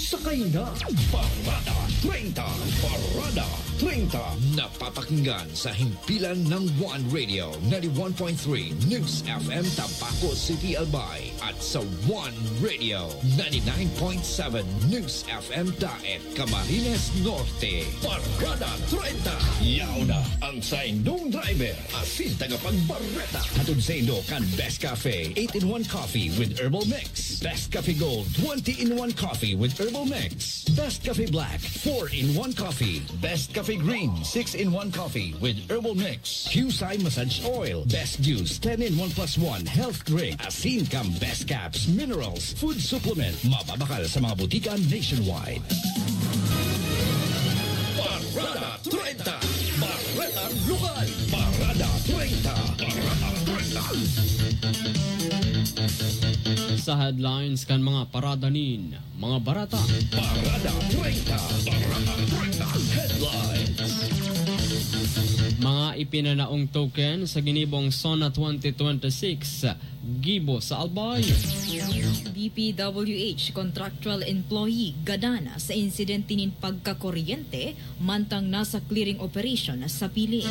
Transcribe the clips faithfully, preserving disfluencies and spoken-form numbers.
Sakay na! Parada treinta! Parada treinta! Napapakinggan sa himpilan ng One Radio, ninety-one point three News F M Tabaco City, Albay, at sa One Radio, ninety-nine point seven News F M Daet, Camarines Norte. Parada treinta! Yaw na ang saindong driver asin tagapagbareta. Hatod saindo kan Best Cafe eight-in-one Coffee with Herbal Mix, Best Cafe Gold twenty-in-one Coffee with Herbal Mix, Best Cafe Black four-in-one Coffee, Best Cafe Green six-in-one Coffee with Herbal Mix, Qcye Massage Oil, Best Juice ten-in-one plus one Health Drink, asin kan Best Caps Minerals Food Supplement. Mababakal sa mga butika nationwide. Parada treinta! Bareta Lokal! Parada treinta! Parada treinta! Sa headlines kan mga parada nin mga bareta. Parada treinta! Parada treinta! Headlines! Mga ipinanaong token sa ginibong SONA twenty twenty-six, gibo sa Albay. D P W H contractual employee gadan sa insidente nin pagkakuryente mantang nasa clearing operation sa piling.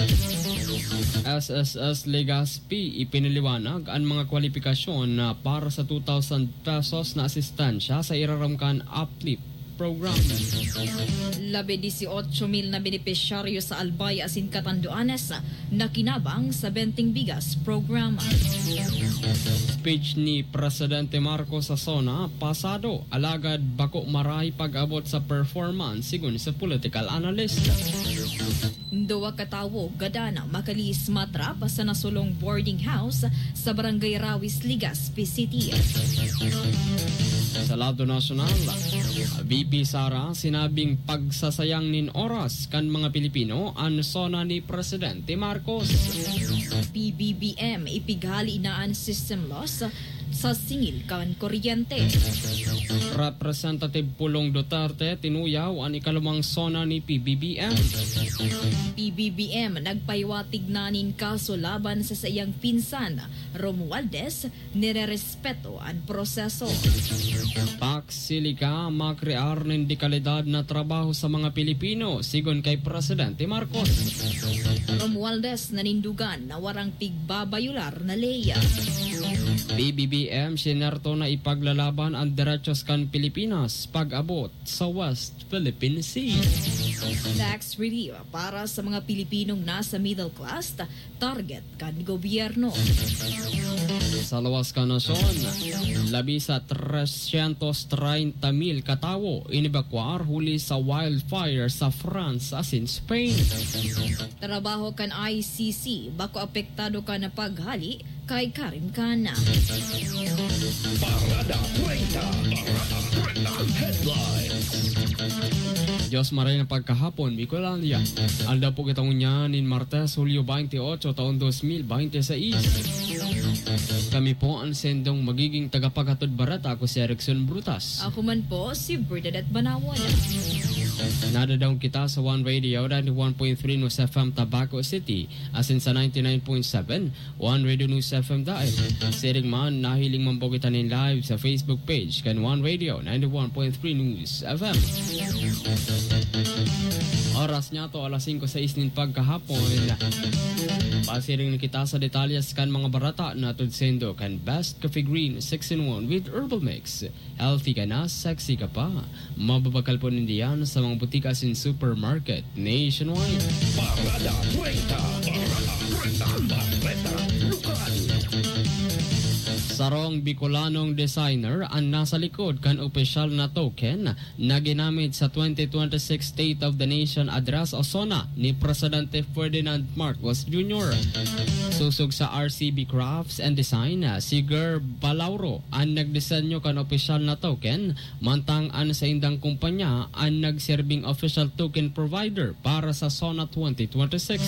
S S S Legazpi ipinaliwanag an mga kwalipikasyon na para sa two thousand pesos na asistensya sa irarom kan uplift program. Labi dieciocho mil na benepisyaryo sa Albay asin Catanduanes nakinabang sa Benteng Bigas Program. Speech ni Presidente Marcos sa SONA, pasado, alagad bako marahay pag-abot sa performance, sigon sa political analyst. Duwa ka tawo gadan makalihis matrap sa nasulong boarding house sa Barangay Rawis, Legazpi City. Sa lado nasyonal, V P Sara, sinabing pagsasayang nin oras kan mga Pilipino an SONA ni Presidente Marcos. P B B M, ipighali na an system loss sa singil kan kuryente. Representative Pulong Duterte tinuyaw an ikalumang SONA ni P B B M. P B B M nagpahiwatig na nin kaso laban sa saiyang pinsan, Romualdez, nirerespeto an proseso. Pax Silica, makrear nin dekalidad na trabaho sa mga Pilipino, sigon kay Presidente Marcos. Romualdez, nanindugan na warang pigbabayular na ley. P B B M, sinerto na ipaglalaban an derechos kan Pilipinas pag-abot sa West Philippine Sea. Tax relief para sa mga Pilipinong nasa middle class, target kan gobyerno. Sa lawas kan nasyon, labi sa trescientos treinta mil katawo inebakwar huli sa wildfire sa France asin Spain. Trabaho kan I C C, bako apektado kan paghali kay Karim Khan. Parada treinta, Parada treinta Headlines. Dios maray na pagkahapon, Bicolandia. Aldaw po kita ngunyan nin Martes, Hulyo twenty-eight, taon dos mil binte seis. Kami po an sendong magiging tagapaghatod bareta. Ako si Erickson Brutas. Ako man po, si Bernadette Banawon. Nadadaog kita sa One Radio, ninety-one point three News F M Tabaco City, asin sa ninety-nine point seven One Radio News F M Daet. Siring man, nahiling man po kita nin live sa Facebook page kan One Radio ninety-one point three News F M. Oras niya to, alas singko sais nin pagkahapon. Pasiring na kita sa detalyes kan mga bareta na hatod saindo kan Best Coffee Green six-in-one with Herbal Mix. Healthy ka na, sexy ka pa. Mababakal po ninda yan sa mga butika asin supermarket nationwide. Parada treinta, Parada treinta, Bareta Lokal. Sarong Bicolanong designer an nasa likod kan opisyal na token na ginamit sa twenty twenty-six State of the Nation Address o SONA ni Presidente Ferdinand Marcos Junior. Sosog sa R C B Crafts and Design, si Ger Balauro an nagdisenyo kan opisyal na token, mantang an saindang kumpanya an nagserbing official token provider para sa SONA twenty twenty-six.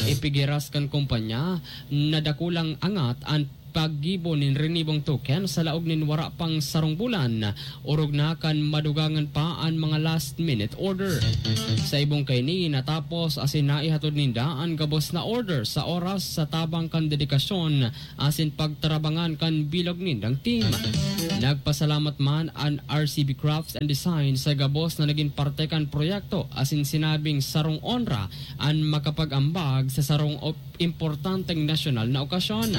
Ipigiras kan kumpanya na dakulang angat an paggibo nin renibong token sa laog nin wara pang sarong bulan, orog na kan madugangan pa an mga last-minute order. Sa ibong kaini, natapos asin naihatod ninda an gabos na order sa oras sa tabang kan dedikasyon asin pagtarabangan kan bilog nindang team. Nagpasalamat man an R C B Crafts and Design sa gabos na nagin parte kan proyekto asin sinabing sarong onra an makapag-ambag sa sarong op-, importanteng nasyonal na okasyon.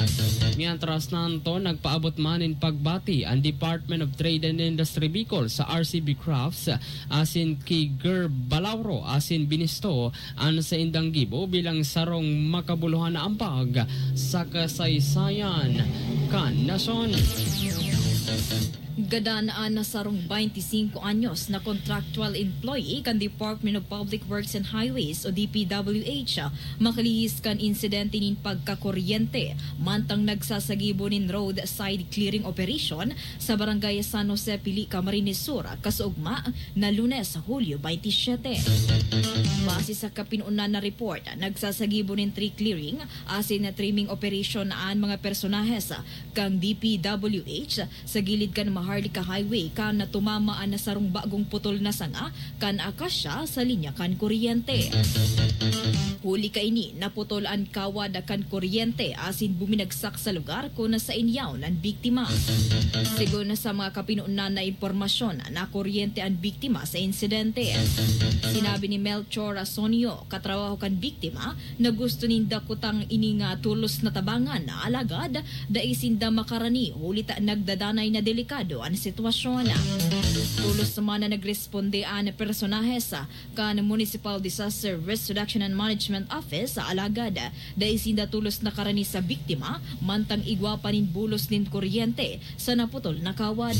Mientras tanto, nagpaabot man nin pagbati an Department of Trade and Industry Bicol sa R C B Crafts asin ki Ger Balauro asin binisto an saindang gibo bilang sarong makabuluhan na ambag sa kasaysayan kan nasyon. Gadan an sarong twenty-cinco anyos na contractual employee kan Department of Public Works and Highways o D P W H makalihis kan insidente nin pagkakuryente mantang nagsasagibo nin roadside clearing operation sa Barangay San Jose, Pili, Camarines Sur, kasuugma na Lunes, Hulyo twenty-seven. Base sa kapinonan na report, nagsasagibo nin tree clearing asin na trimming operation an mga personahes kan D P W H sa gilid kan Maharlika Highway kan tumama an sarong bagong putol na sanga kan akasya sa linya kan kuryente. Huli kaini, naputol an kawad kan kuryente asin buminagsak sa lugar kun saen yaon an biktima. Segun sa mga kapinonan na impormasyon, nakuryente an biktima sa insidente. Sinabi ni Melchor Asonio, katrabaho kan biktima, na gusto ninda kutang ini nga tulos na tabangan, alagad dai sinda makarani huli ta nagdadanay na delikado an sitwasyon. Tulos man na nagresponde an personahes kan Municipal Disaster Risk Reduction and Management Office, alagad dai sinda tulos nakarani sa biktima, mantang igwa pa nin bulos nin kuryente sa naputol na kawad.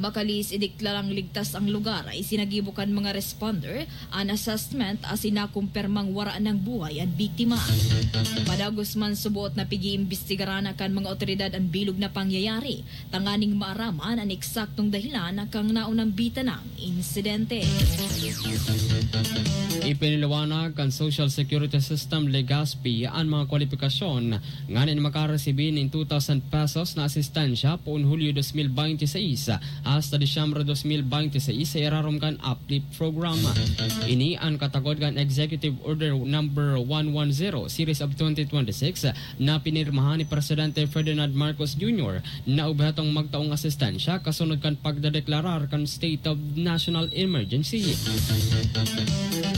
Makalihis ideklarang ligtas ang lugar, isinagibo kan mga responder an assessment asin nakumpirmang wara nang buhay an biktima. Padagos man, suboot na pig-iimbestigaran kan mga otoridad an bilog na pangyayari tanganing maaraman an eksaktong dahilan kan naunang bita nang insidente. Ipinaliwanag kan Social Security System, Legazpi, an mga kwalipikasyon nganing makaresibi nin two thousand pesos na asistensya poon Hulyo dos mil bente seis hasta Disyembre dos mil bente seis sa irarom kan Uplift Program. Ini an katagod kan Executive Order Number one one zero, Series of twenty twenty-six, na pinirmahan ni Presidente Ferdinand Marcos Junior na obhetong magtaong asistensya kasunod kan pagdedeklarar kan State of National Emergency.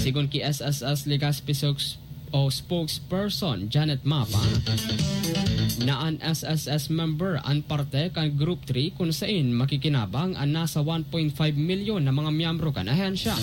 Sigon ki S S S Legazpi spokes-, o spokesperson Janet Mapa, na an S S S member an parte kan Group three kun saen makikinabang an nasa one point five milyon na mga miyembro kan ahensya.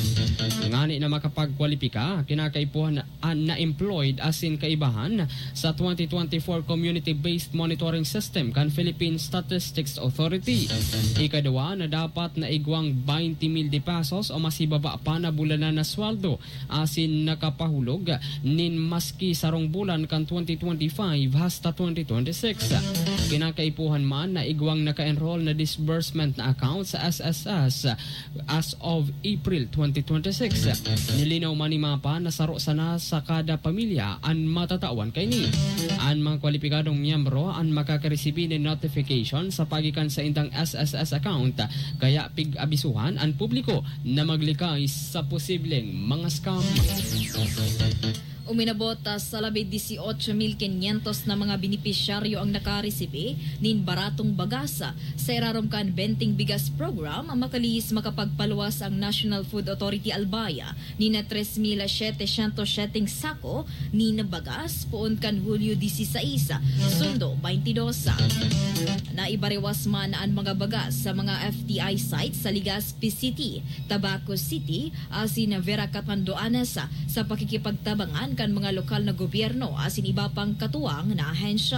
Ngani na makapagkwalipika, kinakaipuhan an na-employed asin kaibahan sa twenty twenty-four Community-Based Monitoring System kan Philippine Statistics Authority. Ikaduwa na dapat na igwang baynte mil de pesos o mas hibaba pa na bulanan na sweldo asin nakapahulog nin maski sarong bulan kan twenty twenty-five hasta twenty twenty-six. Kinakaipuhan man na igwang naka-enroll na disbursement na account sa S S S as of April twenty twenty-six. Nilinaw man ni Mapa na saro sana sa kada pamilya an matatawan kaini. An mga kwalipikadong miyembro an makakaresibi nin notification sa paagi kan saindang S S S account, kaya pig-abisuhan an publiko na maglikay sa posibleng mga scam. Uminabot, ah, sa labi dieciocho mil quinientos na mga benepisyaryo ang nakaresibi nin baratong bagas. Sa irarom kan Benteng Bigas Program, makalihis makapagpaluwas ang National Food Authority Albay nin tres mil setecientos seteng sako nin bagas poon kan Hulyo dieciséis, sundo twenty-dos. Naibariwas man an mga bagas sa mga F T I sites sa Legazpi City, Tabaco City, asin Vera Catanduanes sa pakikipagtabangan kan mga lokal na gobyerno asin iba pang katuwang na ahensya.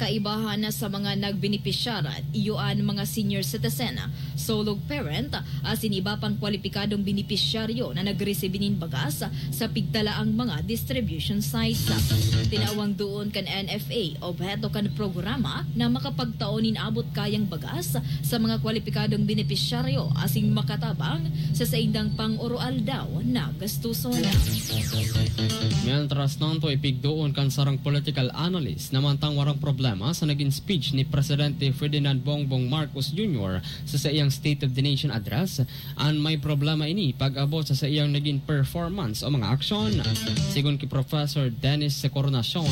Kaibahan sa mga nagbenepisyar, iyo an mga senior citizen, solo parent, asin iba pang kwalipikadong benepisyaryo na nagresibi nin bagas sa pigtalaang mga distribution sites. Tinawang doon kan N F A, obheto kan programa na makapagtao nin abot kayang bagas sa mga kwalipikadong benepisyaryo asin makatabang sa saindang pang-oroaldaw na gastuson. Mientras tanto, ipigdoon kan sarong political analyst na mantang warang problema sa nagin speech ni Presidente Ferdinand Bongbong Marcos Junior sa saiyang State of the Nation Address, an may problema ini pag-abot sa saiyang nagin performance o mga aksyon. Sigon ki Professor Dennis Encarnacion,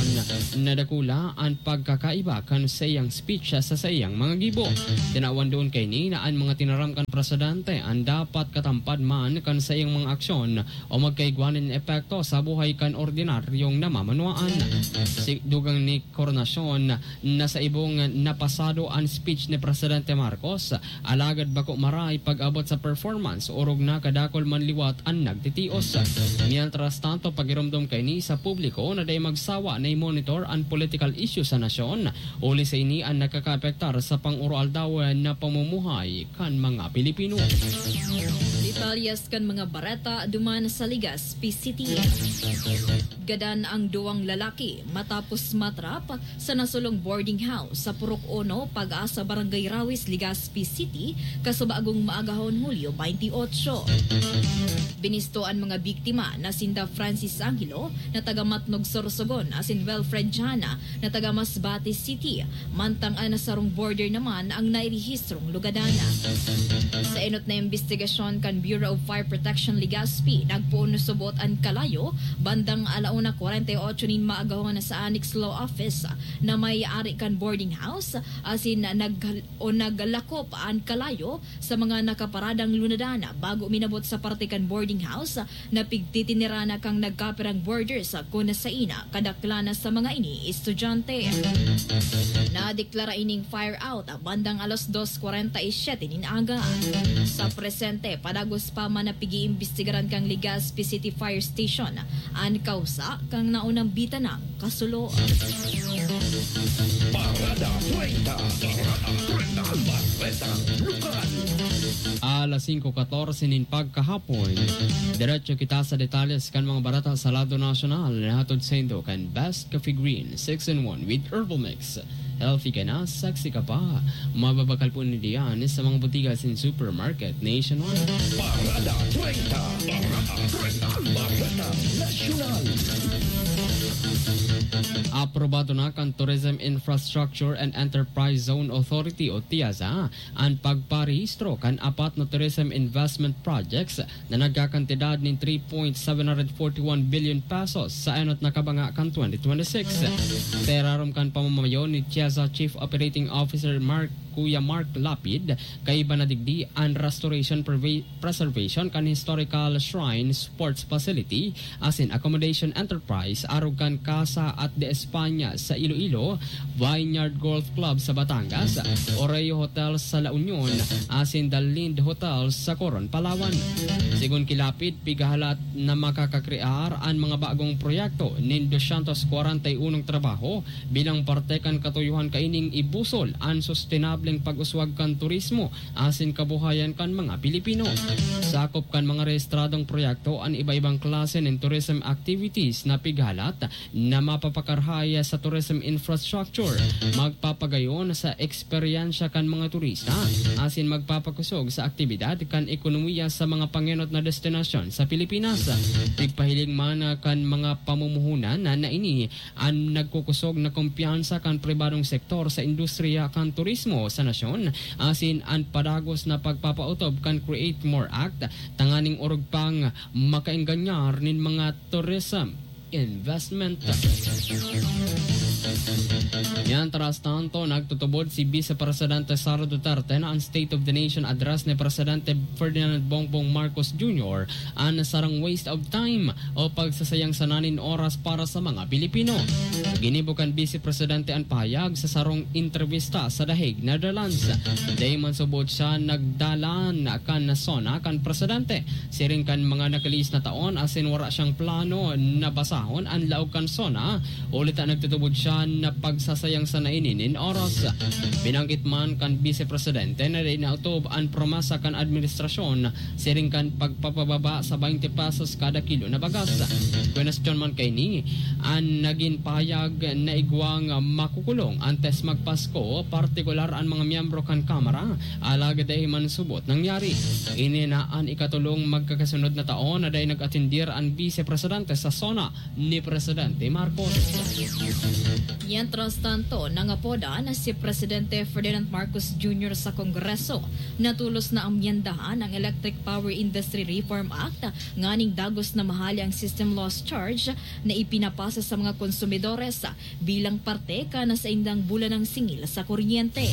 nadakula an pagkakaiba kan saiyang speech sa saiyang mga gibo. Tinawan doon kaini na an mga tinaram kan presidente an dapat katampad man kan saiyang mga aksyon o magkaigwa nin epekto sa buhay kan ordinaryong namamanwaan. Si dugang ni Encarnacion na sa ibong napasado an speech ni Presidente Marcos, alagad bako maray pag-abot sa performance, orog na kadakul man liwat an nagtitios. Mientras tanto, pagiromdom kaini sa publiko na dai magsawa na i-monitor an political issue sa nasyon, huli sa ini an nakakaapektar sa pang-oroaldaw na pamumuhay kan mga Pilipino. Detalyes kan mga bareta duman sa Legazpi City. Gadan ang duwang lalaki matapos matrap sa nasulong boarding house sa Purok Uno, Pag-asa, Barangay Rawis, Legazpi City, kasubagong maagahon Hulyo twenty-eight. Binisto an mga biktima na sinda Francis Angelo na taga Matnog, Sorsogon, asin Wilfred Jana na taga Masbate City, mantang an sarong boarder naman ang nairehistrong lugadan. Sa enot na imbestigasyon kan Bureau of Fire Protection Legazpi, nagpoon na subot an kalayo bandang alauna kwarenta y ocho nin maagahon sa Annex Law Office na may ari kan boarding house, asin nag-, o naglakop an kalayo sa mga nakaparadang lunadan bago minabot sa parte kan boarding house na pigtitinirana kan nagkapirang boarders kun saen kadaklan sa mga ini estudyante. Nadeklara ining fire out bandang alas dos kwarenta y siyete nin aga. Sa presente, padagos pa man na pig-iimbestigaran kan Legazpi City Fire Station an kausa kan naunang bitanang kasulo. Parada treinta. Parada treinta. Baretang Lokal. Alas singko katorse nin pagkahapon, diretso kita sa detalyes kan mga bareta sa lado nasyonal na hatod saindo kan Best Coffee Green six in one with Herbal Mix. Healthy ka na, sexy ka pa. Mababakal po ninda yan sa mga botika asin supermarket nationwide. Parada treinta. Parada treinta. Bareta Nasyonal. Aprobado na kan Tourism Infrastructure and Enterprise Zone Authority o TIAZA an pagparehistro kan apat na tourism investment projects na nagkakantidad nin three point seven hundred forty one billion pesos sa enot na kabanga kan twenty twenty-six. Sa irarom kan pamamayo ni TIAZA Chief Operating Officer Mark, Kuya Mark Lapid, kaiba na digdi an restoration, preve-, preservation kan historical shrine, sports facility, asin accommodation enterprise arog kan Casa at de España sa Iloilo, Vineyard Golf Club sa Batangas, Oreo Hotel sa La Union, asin The Lind Hotel sa Coron, Palawan. Sigon ki Lapid, pigahalat na makakakrear an mga bagong proyekto nin dosyentos kwarenta y unong trabaho bilang parte kan katuyohan kaining ibusol an sustenableng pag-uswag kan turismo asin kabuhayan kan mga Pilipino. Sakop kan mga rehistradong proyekto an iba-ibang klase nin tourism activities na pighalat na mapapakarahay sa tourism infrastructure, magpapagayon sa eksperyensya kan mga turista, asin magpapakosog sa aktibidad kan ekonomiya sa mga pangenot na destinasyon sa Pilipinas. Pigpahiling man kan mga pamumuhunan na, na ini an nagkukosog na kumpiyansa kan pribadong sektor sa industriya kan turismo sa nasyon, asin an padagos na pagpapautob kan Create More Act, tanganing orog pang makaenganyar nin mga tourism investment. Mientras tanto, nagtutubod si Vice Presidente Sara Duterte na an State of the Nation Address ni Presidente Ferdinand Bongbong Marcos Junior an sarong waste of time o pagsasayang sana nin oras para sa mga Pilipino. Ginibo kan Vice Presidente an pahayag sa sarong entrebista sa The Hague, Netherlands. Dai man subot siya nagdalan kan SONA kan presidente, siring kan mga nakalihis na taon, asin wara siyang plano na basahon an laog kan SONA, huli ta nagtutubod siya na pagsasayang sa naini nin oras. Binanggit man kan Bise Presidente na dai naotob an promesa kan administrasyon siring kan pagpapababa sa twenty pesos kada kilo na bagas. Kwenestyon man kaini, an nagin pahayag na igwang makukulong antes magpasko, partikular an mga miyembro kan Kamara, alagad dai man subot nangyari. Ini na an ikatulong magkakasunod na taon na dai nag-atendir an Bise Presidente sa SONA ni Presidente Marcos. Mientras tanto, nangapodan si Presidente Ferdinand Marcos Junior sa Kongreso na tolos na amyendahan ang Electric Power Industry Reform Act nganing dagos na mahali ang system loss charge na ipinapasa sa mga konsumidores bilang parte kan saindang bulanang singil sa kuryente.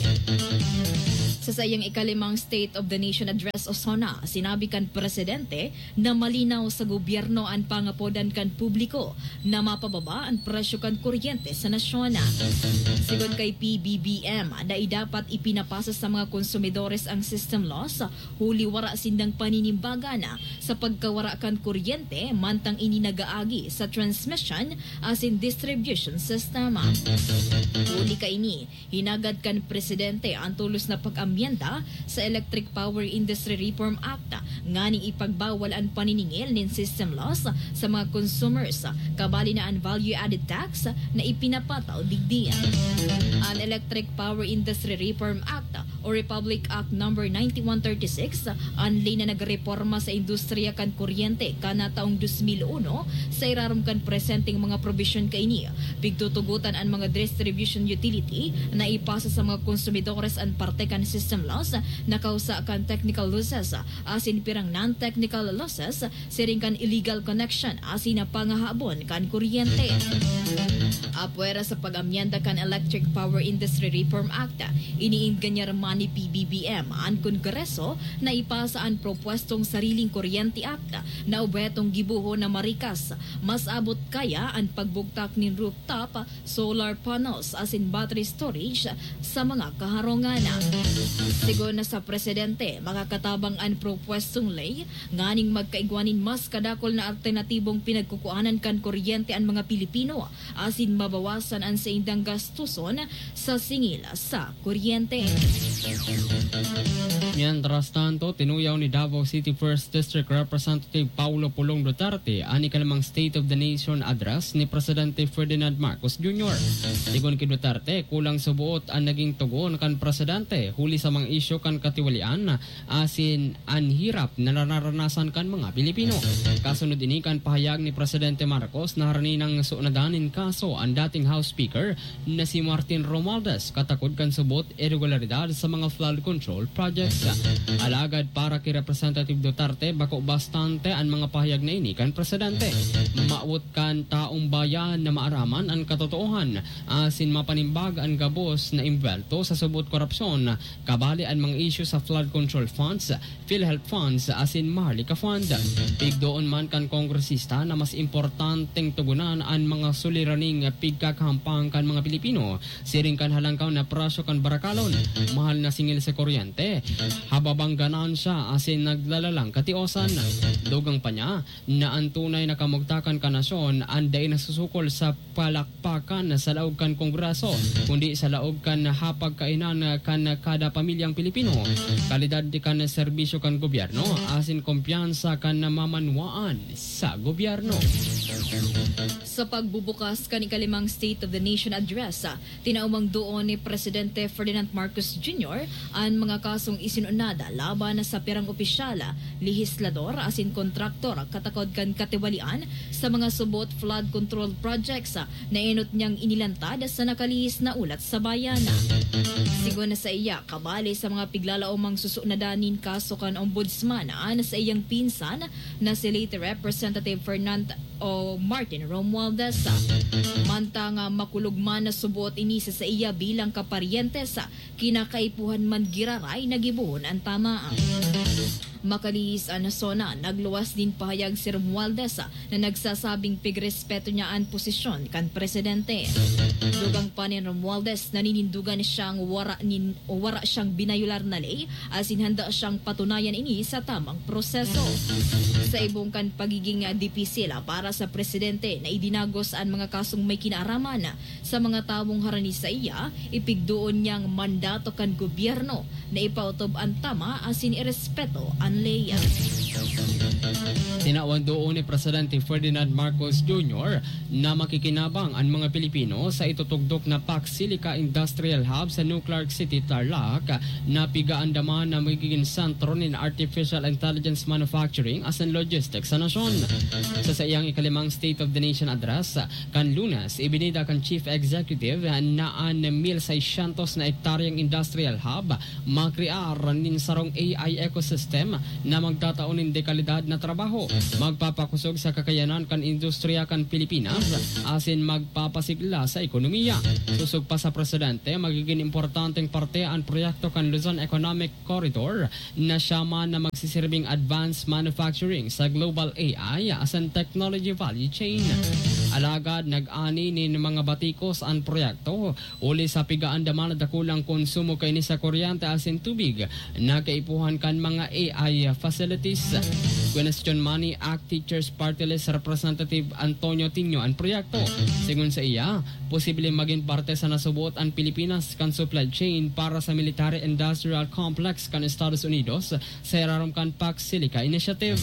Sa saiyang ikalimang State of the Nation Address o SONA, sinabi kan Presidente na malinaw sa gobyerno an pangapodan kan publiko na mapababa an presyo kan kuryente sa nasyon. Sigon kay P B B M, dai dapat ipinapasa sa mga konsumidores ang system loss, huli wara sindang paninimbagan sa pagkawara kan kuryente, mantang ini nagaagi sa transmission asin distribution system. Huli kaini, hinagad kan Presidente an tolos na pag-amyenda sa Electric Power Industry Reform Act nganing ipagbawal an paniningil nin system loss sa mga consumers, kabali na an value-added tax na ipinapataw digdi. An Electric Power Industry Reform Act o Republic Act Number ninety-one thirty-six, an ley na nagreporma sa industriya kan kuryente kan taong dos mil uno. Sa irarom kan presenteng mga probisyon kaini, pigtutugotan an mga distribution utility na ipasa sa mga konsumidores an parte kan system loss na kausa kan technical losses asin pirang non-technical losses, siring kan illegal connection asin na pangahabon kan kuryente. Apwera sa pag-amyenda kan Electric Power Industry Reform Act, iniingganyar man ni P B B M an Kongreso na ipasa an propwestong Sariling Kuryente Act na obhetong gibohon na marikas, mas abot kaya an pagbugtak nin rooftop solar panels asin battery storage sa mga kaharungan. Sigon na sa Presidente, makakatabang an propwestong ley nganing magkaigwa nin mas kadakul na alternatibong pinagkukuanan kan kuryente an mga Pilipino asin mabawasan an saindang gastuson sa singil sa kuryente. Mientras tanto, tinuyaw ni Davao City First District Representative Paulo Pulong Duterte an ikalimang State of the Nation Address ni Presidente Ferdinand Marcos Junior. Sigon ki Duterte, kulang suboot an naging tugon kan presidente huli sa mga isyu kan katiwalian asin an hirap na nararanasan kan mga Pilipino. Kasunod ini kan pahayag ni Presidente Marcos na harani nang sunadan nin kaso an dating House Speaker na si Martin Romualdez katakod kan subot irregularidad sa mga flood control projects. Alagad para ki Representative Duterte, bako bastante an mga pahayag na ini kan presidente. Mawot kan taong bayan na maaraman an katotoohan asin mapanimbag an gabos na imbwelto sa subot korupsyon, kabali an mga isyu sa flood control funds, PhilHealth funds asin Maharlika Fund. Pigdoon man kan kongresista na mas importanteng tugunan an mga suliraning pigkakahampang kan mga Pilipino, siring kan halangkaw na presyo kan barakalon, mahal na singil sa kuryente, hababang ganansya asin naglalalang katiosan. Dugang pa niya na an tunay na kamugtakan kan nasyon an dai nasusukol sa palakpakan sa laog kan Kongreso, kundi sa laog kan hapagkainan kan kada pamilyang Pilipino, kalidad kan serbisyo kan gobyerno, asin kumpiyansa kan namamanwaan sa gobyerno. Sa pagbubukas kan ikalimang State of the Nation Address, tinaumang doon ni Presidente Ferdinand Marcos Junior an mga kasong isinunad laban sa pirang opisyal, lehislador asin kontraktor katakod kan katiwalian sa mga subot flood control projects na enot niyang inilantad sa nakalihis na ulat sa bayan. Sigon na sa iya, kabali sa mga piglalaomang susunadan nin kaso kan Ombudsman an saiyang pinsan na si late Representative Fernand o Martin Romualdez. Mantang makulog man na suboot ini sa saiya bilang kaparyentes, kinakaipuhan man giraray na gibohon an tama. Makalihis an SONA, nagluwas nin pahayag si Romualdez na nagsasabing pigrespeto niya an posisyon kan presidente. Dugang pa nin Romualdez, naninindugan siyang wara, nin, wara siyang binayolar na ley, asin handa siyang patunayan ini sa tamang proseso. Sa ibong kan pagiging dipisil para sa presidente na idinagos an mga kasong may kinaaraman sa mga tawong harani saiya, ipigdoon niyang mandato kan gobyerno na ipaotob an tama asin irespeto an ley. Tinawang doon ni Presidente Ferdinand Marcos Junior na makikinabang an mga Pilipino sa itutugdok na Pax Silica Industrial Hub sa New Clark City, Tarlac, na pigaandaman na magiging sentro nin artificial intelligence manufacturing asin logistics sa nasyon. Sa saiyang ikalimang State of the Nation Address, kan Lunes, ibinida kan Chief Executive na an mil seiscientos na ektaryang industrial hub makrear nin sarong A I ecosystem na magtatao nin dekalidad na trabaho, magpapakosog sa kakayanan kan industriya kan Pilipinas, asin magpapasigla sa ekonomiya. Sosog pa sa presidente, magiging importanteng parte an proyekto kan Luzon Economic Corridor na siya man na magsisirbing advanced manufacturing sa global A I asin technology value chain. Alagad nag-ani nin mga batikos an proyekto, huli sa pigaandaman na dakulang konsumo kaini sa kuryente asin tubig na kaipuhan kan mga A I facilities. Kwestiyon man ni ACT Teachers Party List Representative Antonio Tinio an proyekto. Sigon sa iya, posible magin parte sa nasuboot an Pilipinas kan supply chain para sa military industrial complex kan Estados Unidos sa irarom kan Pax Silica Initiative.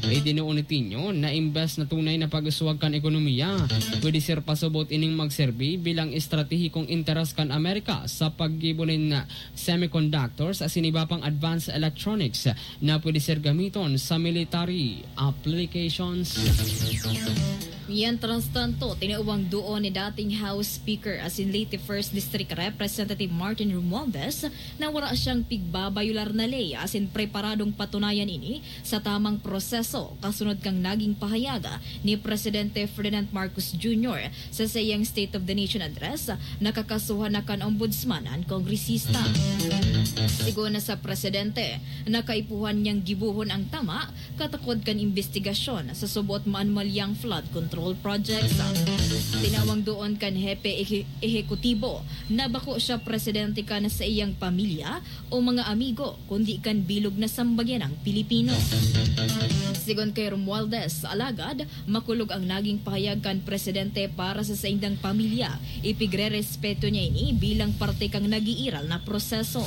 Idinuon ni Tinio na imbes na tunay na pag-uswag kan ekonomiya, pwede ser pasubot ining magserbi bilang estratehikong interes kan Amerika sa paggibo nin semiconductors asin iba pang advanced electronics na pwede ser gamiton sa military applications. Mientras tanto, tinawang doon ni dating House Speaker asin Leyte First District Representative Martin Romualdez na wara siyang pigbabayolar na ley asin preparadong patunayan ini sa tamang proseso, kasunod kan naging pahayag ni Presidente Ferdinand Marcos Junior sa saiyang State of the Nation Address na kakasuhan na kan Ombudsman an kongresista. Sigon na sa presidente, na kaipuhan niyang gibohon ang tama katakod kan imbestigasyon sa suboot maanomalyang flood control projects. Tinawang doon kan hepe ehe-, ehekutibo na bako siya presidente kan saiyang pamilya o mga amigo, kundi kan bilog na sambayanang Pilipino. Sigon kay Romualdez, alagad, makulog ang naging pahayag kan presidente para sa saindang pamilya. Ipigrerespeto niya ini bilang parte kan nag-iiral na proseso.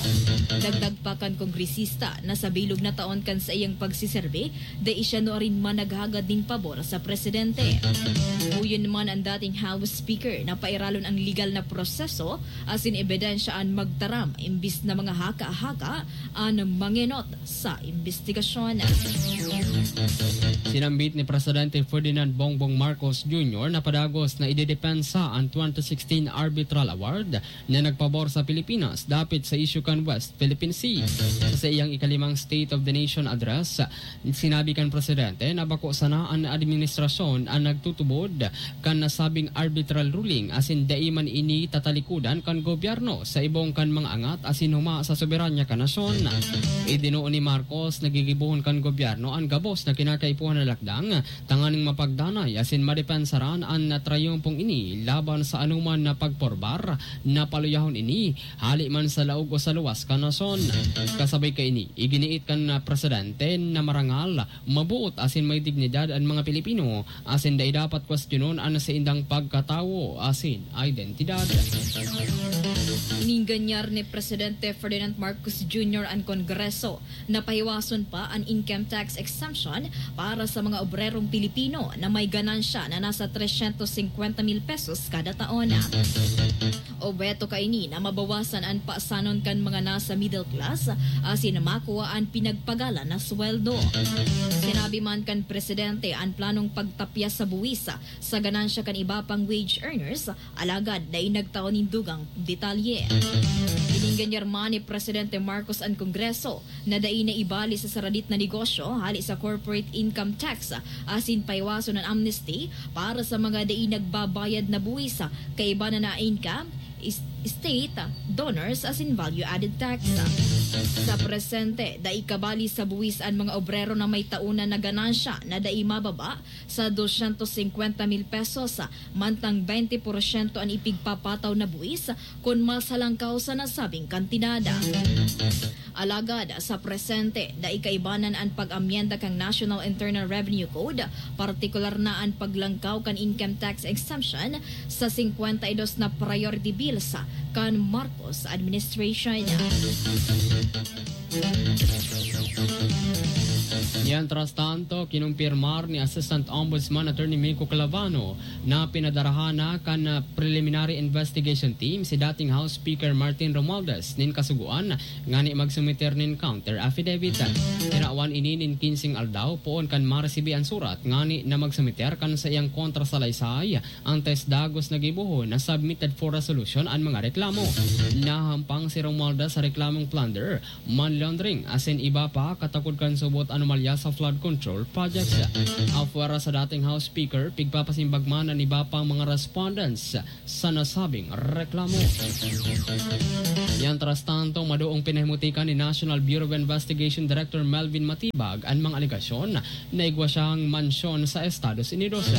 Dagdag pa kan kongresista na sa bilog na taon kan saiyang pagsiserbi, dai siya nuarin man naghagad nin pabor sa presidente. Huyon man an dating House Speaker na pairalon ang legal na proseso asin ebidensya an magtaram imbis na mga haka-haka an mangenot sa imbestigasyon. Sinambit ni Presidente Ferdinand Bongbong Marcos Junior na padagos na idedepensa an twenty sixteen Arbitral Award na nagpabor sa Pilipinas dapit sa isyu kan West Philippine Sea. Sa saiyang ikalimang State of the Nation Address, sinabi kan presidente na bako sana an administrasyon an nagtutubod kan nasabing arbitral ruling asin dai man ini tatalikodan kan gobyerno sa ibong kan mga angat asin huma sa soberanya kan nasyon. Idinoo ni Marcos na gigibohon kan gobyerno an gabos na kinakaipuhan na lakdang tanganing mapagdanay asin madepensaran an trayumpong ini laban sa anoman na pagporbar na paluyahon ini hali man sa laog o sa luwas kan nasyon. Kasabay kaini, iginiit kan, ah, presidente na marangal, mabuot asin may dignidad an mga Pilipino asin dai dapat kwestiyonon an saindang pagkatawo asin identidad. Ininganyar ni Presidente Ferdinand Marcos Junior an Kongreso na pahiwason pa an income tax exemption para sa mga obrerong Pilipino na may ganansya na nasa trescientos cincuenta mil pesos kada taon. Obheto kaini na mabawasan an pasanon kan mga nasa middle class asin makua an pinagpagalan na sweldo. Sinabi man kan presidente an planong pagtapyas sa buwis sa ganansya kan iba pang wage earners, alagad dai nagtao nin dugang detalye. Ininganyar man ni Presidente Marcos an Kongreso na dai na ibali sa saradit na negosyo hali sa corporate income tax asin pahiwason an amnesty para sa mga dai nagbabayad na buwis kaiba na na income is-, state, donors asin value-added tax. Sa presente, dai kabali sa buwis an mga obrero na may taon na ganansya na dai mababa sa dosyentos singkwenta mil pesos, mantang bente porsyento an ipigpapataw na buwis kun masalangkaw sa nasabing kantidad. Alagad sa presente, dai kaibanan an pag-amyenda kan National Internal Revenue Code, partikular na an paglangkaw kan income tax exemption sa singkwenta y dos na priority bills kan Marcos administration. Mientras tanto, kinumpirmar ni Assistant Ombudsman Attorney Miko Clavano na pinadarahan na kan, ah, preliminary investigation team si dating House Speaker Martin Romualdez nin kasugoan ngani magsumiter nin counter affidavit. Tinawan ini nin kinseng aldaw poon kan maresibi an surat ngani na magsumiter kan saiyang kontrasalaysay antes dagos na gibohon na submitted for resolution an mga reklamo. Nahampang si Romualdez sa reklamong plunder, money laundering, asin iba pa katakod kan subot anomalya sa flood control projects. Apwera sa dating House Speaker, pigpapasimbag man an iba pang mga respondents sa nasabing reklamo. Mientras tanto, madoong pinahimutikan ni National Bureau of Investigation Director Melvin Matibag an mga alegasyon na igwa siyang mansyon sa Estados Unidos.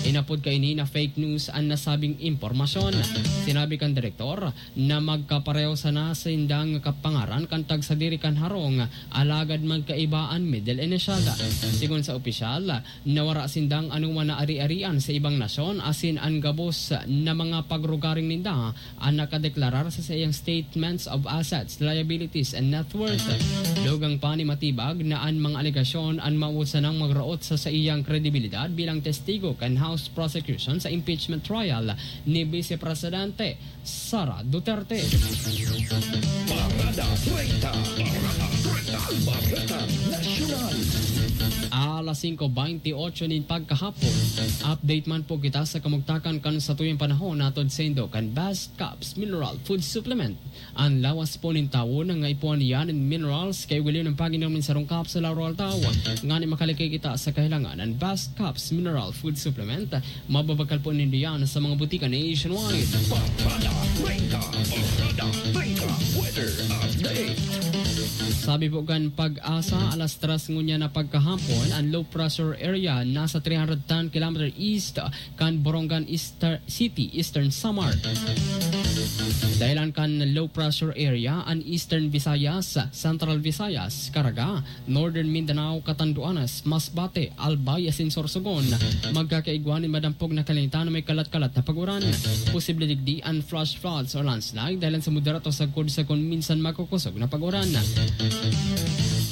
Inapod kaini na fake news an nasabing impormasyon. Sinabi kan direktor na magkapareho sana sindang kapangaran kan tagsadiri kan harong, alagad magkaiba an middle initial. Sigon sa opisyal, nawara sindang anoman na ari-arian sa ibang nasyon asin an gabos na mga pagrugaring ninda an nakadeklarar sa saiyang statements of assets, liabilities, and net worth. Dugang pa ni Matibag na an mga alegasyon an mawot sanang magraot sa saiyang kredibilidad bilang testigo kan House prosecution sa impeachment trial ni Vice Presidente Sara Duterte. Parada treinta. Parada treinta. Bareta Nasyonal. Alas singko bente ocho nin pagkahapon, update man po kita sa kamugtakan kan satuyang panahon, hatod saindo kan Best Caps Mineral Food Supplement. An lawas po nin tawo na nga ipuan niya nin minerals kay ugaliw ng pag-inom nin sarong kapsula aroaldaw. Ngani makalikay kita sa kahilangan, an Best Caps Mineral Food Supplement, mababakal po nindo yan sa mga butika nationwide. Parada treinta, Parada treinta, weather update. Sabi po kan Pag-asa, alas tres ngunyan na pagkahapon, an low pressure area nasa three hundred ten kilometer east kan Borongan Easter City, Eastern Samar. Dahilan kan low pressure area, an Eastern Visayas, Central Visayas, Caraga, Northern Mindanao, Catanduanes, Masbate, Albay asin Sorsogon, magkakaigwa nin madampog na kalangitan na may kalat-kalat na pag-uran. Posible digdi an flash floods o landslide dahilan sa moderato sagkod sa kun minsan makukosog na pag-uran.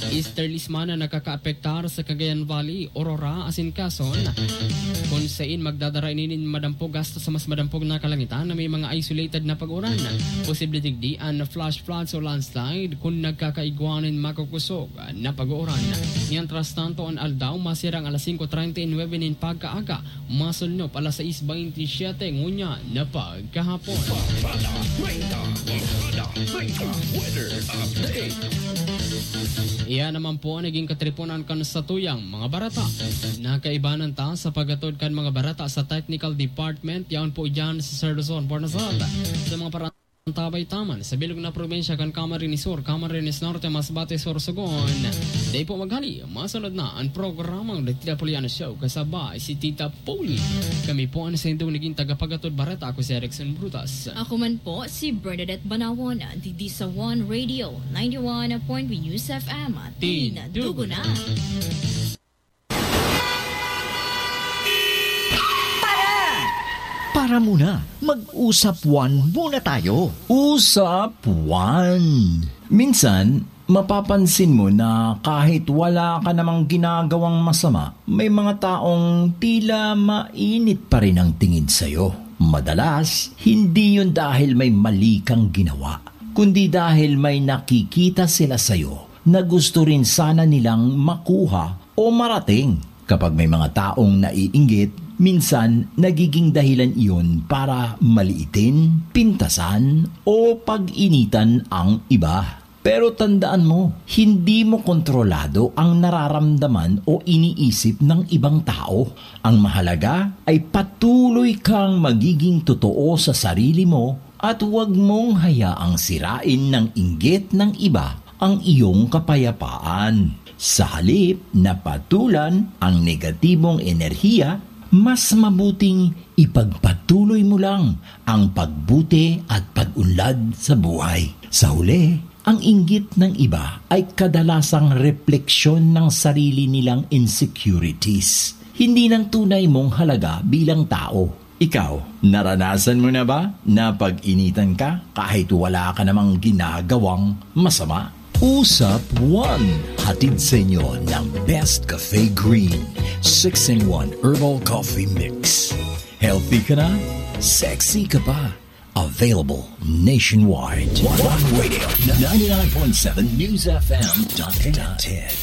Easterlies man an nakakaapektar sa Cagayan Valley, Aurora asin Quezon, kun sain magdadara ini nin madampog hasta sa mas madampog na kalangitan na may mga isolated na pag-uran. Posible digdi an flash floods o landslide kun nagkakaigwa nin makukosog na pag-uran. Mientras tanto, an aldaw masirang alas singko treinta y nuebe nin pagkaaga, masulnop alas sais bente y siete ngunyan na pagkahapon. Parada treinta, Parada treinta, weather update. Iyan naman po an naging katriponan kan satuyang mga bareta. Nakaibanan ta sa paghatod kan mga bareta sa technical department, yaon po dyan sa Sir Luzon, Bornazal. Sa mga para- Tabay taman sa bilog na probinsya kan Camarines Sur, Camarines Norte, Masbate, Sorsogon. Dai po maghali, masunod na an programang The Tita Poliana Show kasabay si Tita Poli. Kami po an saindong naging tagapaghatod bareta. Ako si Erickson Brutas. Ako man po si Bernadette Banawon, digdi sa One Radio, ninety-one point three News F M. Tindugo na. Para muna, mag-usap one muna tayo. Usap one. Minsan, mapapansin mo na kahit wala ka namang ginagawang masama, may mga taong tila mainit pa rin ang tingin sa'yo. Madalas, hindi yun dahil may mali kang ginawa, kundi dahil may nakikita sila sa'yo na gusto rin sana nilang makuha o marating. Kapag may mga taong naiinggit, minsan nagiging dahilan iyon para maliitin, pintasan, o pag-initan ang iba. Pero tandaan mo, hindi mo kontrolado ang nararamdaman o iniisip ng ibang tao. Ang mahalaga ay patuloy kang magiging totoo sa sarili mo At huwag mong hayaang sirain ng inggit ng iba ang iyong kapayapaan. Sa halip na patulan ang negatibong enerhiya, mas mabuting ipagpatuloy mo lang ang pagbuti at pag-unlad sa buhay. Sa huli, ang inggit ng iba ay kadalasang refleksyon ng sarili nilang insecurities, hindi ng tunay mong halaga bilang tao. Ikaw, naranasan mo na ba na pag-initan ka kahit wala ka namang ginagawang masama? Usap One, hatid sa inyo ng Best Cafe Green, six-in-one Herbal Coffee Mix. Healthy ka na, sexy ka pa. Available nationwide. One Radio, ninety-nine point seven News F M dot net.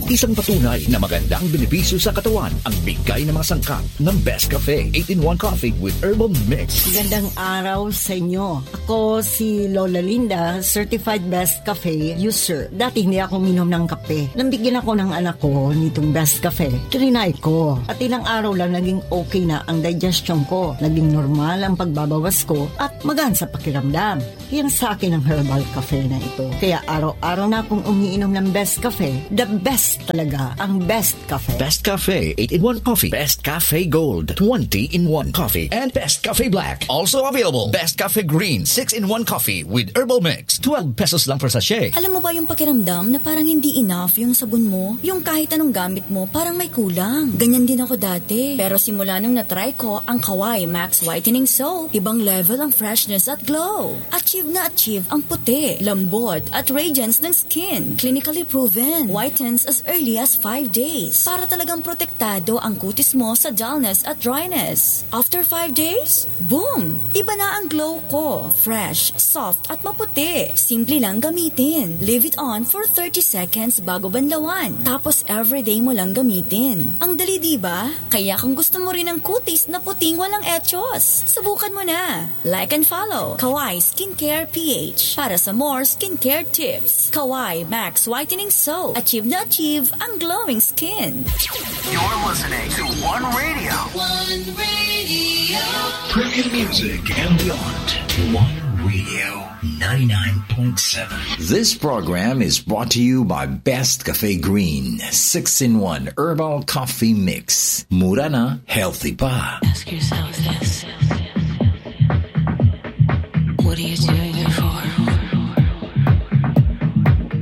Isang patunay na magandang benepisyo sa katawan ang bigay ng mga sangkap ng Best Cafe eight-in-one Coffee with Herbal Mix. Magandang araw sa inyo. Ako si Lola Linda, certified Best Cafe user. Dati hindi ako uminom ng kape. Nabigyan ako ng anak ko nitong Best Cafe. Trinay ko. At ilang araw lang naging okay na ang digestion ko. Naging normal ang pagbabawas ko at magaan sa pakiramdam. Yan sa akin ang herbal cafe na ito. Kaya araw-araw na akong umiinom ng Best Cafe. The best talaga ang Best Cafe. Best Cafe eight-in-one Coffee, Best Cafe Gold twenty-in-one Coffee, and Best Cafe Black. Also available, Best Cafe Green six-in-one Coffee with Herbal Mix. Twelve pesos lang per sachet. Alam mo ba yung pakiramdam na parang hindi enough yung sabon mo? Yung kahit anong gamit mo, parang may kulang. Ganyan din ako dati. Pero simula nung na-try ko ang Kawai Max Whitening Soap, ibang level ang freshness at glow. Achieve na achieve ang puti, lambot, at radiance ng skin. Clinically proven. Whitens as early as five days. Para talagang protektado ang kutis mo sa dullness at dryness. After five days, boom! Iba na ang glow ko. Fresh, soft, at maputi. Simple lang gamitin. Leave it on for thirty seconds bago banlawan. Tapos everyday mo lang gamitin. Ang dali, di ba? Kaya kung gusto mo rin ng kutis na puting walang echos, subukan mo na. Like and follow Kawai Skincare P H para sa more skincare tips. Kawai Max Whitening Soap. Achieve na achieve ang glowing skin. You're listening to One Radio. One Radio. Premium music and beyond. One Radio ninety-nine point seven. This program is brought to you by Best Cafe Green six-in-one Herbal Coffee Mix. Mura na, healthy pa. Ask yourself